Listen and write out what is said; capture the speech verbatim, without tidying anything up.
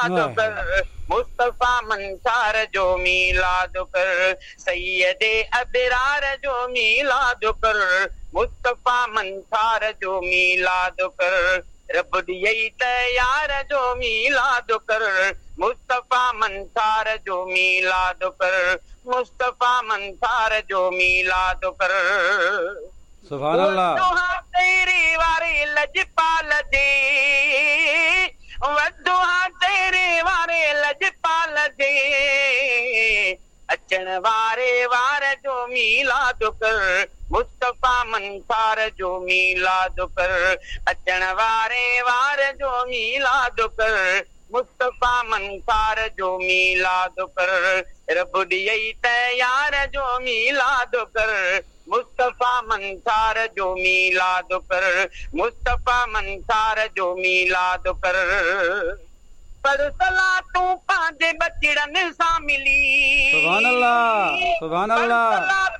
ميلاد वाह। कर, मुस्तफ़ा मंसार जो मीलाद कर, सैयद अबरार जो मीलाद कर, मुस्तफ़ा मंसार जो मीलाद कर, रब ॾियई तयार जो मीलाद कर, मुस्तफ़ा मंसार जो मीलाद कर, मुस्तफ़ा मंसार जो मीलाद कर। सुभान अल्लाह। वद्दुहा तेरे वारे लजपाल जे, वद्दुहा तेरे वारे लजपाल जे, अचण वारे वार जो मीलाद कर, मुस्तफ़ा मंसार जो मीलाद कर, अचण वारे वार जो मीलाद कर, मुस्तफ़ा मंसार जो मीलाद कर, रब ॾियई तयार जो मीलाद कर, मुस्तफ़ा मंसार जो मीलाद कर, मुस्तफ़ा मंसार जो मीलाद कर। पर सला तूं पंहिंजे बचड़नि सां मिली, सुभान अल्लाह, सुभान पर अल्लाह। सला